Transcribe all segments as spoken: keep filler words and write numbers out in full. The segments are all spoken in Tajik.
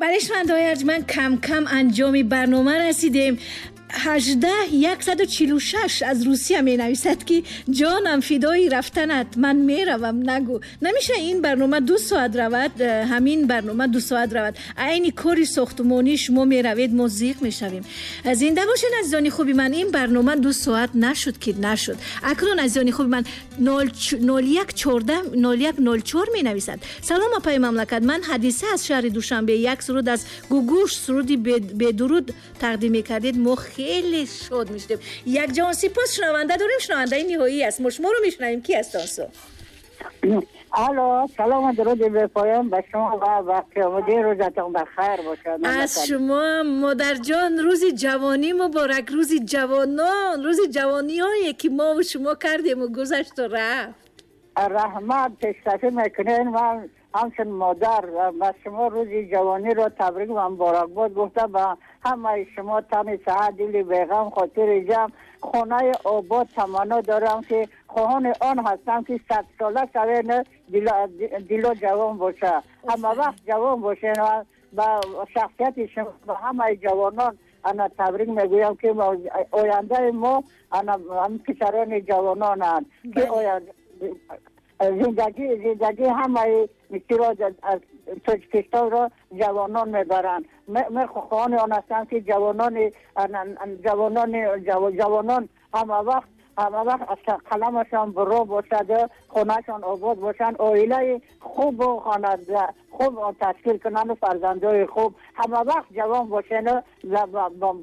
Бале, шунавандаҳои арҷманд, кам-кам анҷоми барнома расидем. Ҳаждаҳ яксаду чилу шаш аз Русия менависад, ки ҷонам фидои рафтанат, ман меравам, нагӯ. Намеша ин барнома ду соат равад, ҳамин барнома ду соат равад. Айни кори сохтмонӣ шумо меравед, мо зиқ мешавем. Зинда бошед, азизони хуби ман, ин барнома ду соат нашуд ки нашуд. Акнун, азизони хуби ман, нол як чордаҳ нол як нол чор менависад: салом, апаи мамлакат, ман Ҳадиса аз шаҳри Душанбе, як суруд аз Гугуш, суруди бедуруд тақдим мекардед, мо хеле шод мешудем. Як ҷаҳон сипос. Шунаванда дорем, шунавандаи ниҳоӣ аст, мо шуморо мешунавем. Ки аст онсо? Алло, салом ва дуруди бепоён ба шумо ва вақти рӯзатон бахайр бошад. Аз шумо, модарҷон, рӯзи ҷавонӣ муборак, рӯзи ҷавонон, рӯзи ҷавониҳое ки мо ва шумо кардему гузашту рафт. Раҳмат, пешкашӣ мекунед. Ман ҳамчун модар ба шумо рӯзи ҷавониро табрик ва муборакбод гуфта, ба ҳамаи шумо тани саҳат, дили беғам, хотири ҷамъ, хонаи обод таманно дорам, ки хоҳони он ҳастам, ки садсола шавед, дило ҷавон боша, ҳама вақт ҷавон бошед. Ва ба шахсияти шумо, ба ҳамаи ҷавонон ана табрик мегӯям, ки ояндаи мо ана писарони ҷавононанд, ки зиндагӣ зиндагӣ ҳамаи мисиро аз Тоҷикистонро ҷавонон мебаранд. Ман хоҳони он ҳастам, ки ҷавонони ҷавонони ҷавонон ҳама вақт ҳама вақт аз қаламашон баро бошад, хонаашон обод бошанд, оилаи хубу хонада хуб ташкил кунанд, фарзандои хуб, ҳама вақт ҷавон бошен,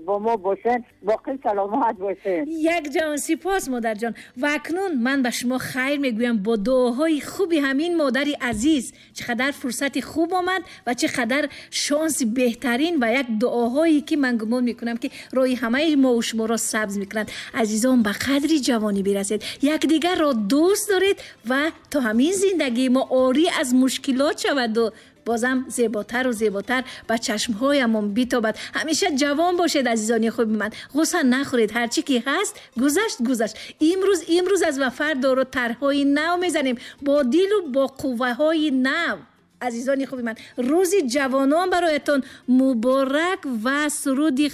бо мо бошен, боқӣ саломат бошен. Як ҷаҳон сипос, модарҷон. Ва акнун ман ба шумо хайр мегӯям бо дуоҳои хуби ҳамин модари азиз. Чӣ қадар фурсати хуб омад ва чӣ қадар шонси беҳтарин ва як дуоҳое ки ман гумон мекунам, ки роҳи ҳамаи мо ва шуморо сабз мекунанд. Азизон, ба қадри ҷавонӣ бирасед, якдигарро дӯст доред ва то ҳамин зиндагии мо орӣ аз мушкилот шаваду бозам зеботару зеботар ба чашмҳоямон битобад. Ҳамеша ҷавон бошед, азизони хуби ман, ғусса нахӯред, ҳарчи ки ҳаст гузашт, гузашт. Имрӯз имрӯз аст ва фардоро тарҳҳои нав мезанем бо дилу бо қувваҳои нав. Азизони хуби ман, рӯзи ҷавонон бароятон муборак ва суруди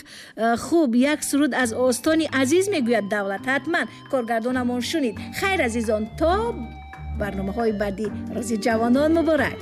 хуб, як суруд аз остони азиз мегӯяд Давлат, ҳатман коргардонамон шунид. Хайр, азизон, то барномаҳои баъдӣ, рӯзи ҷавонон муборак.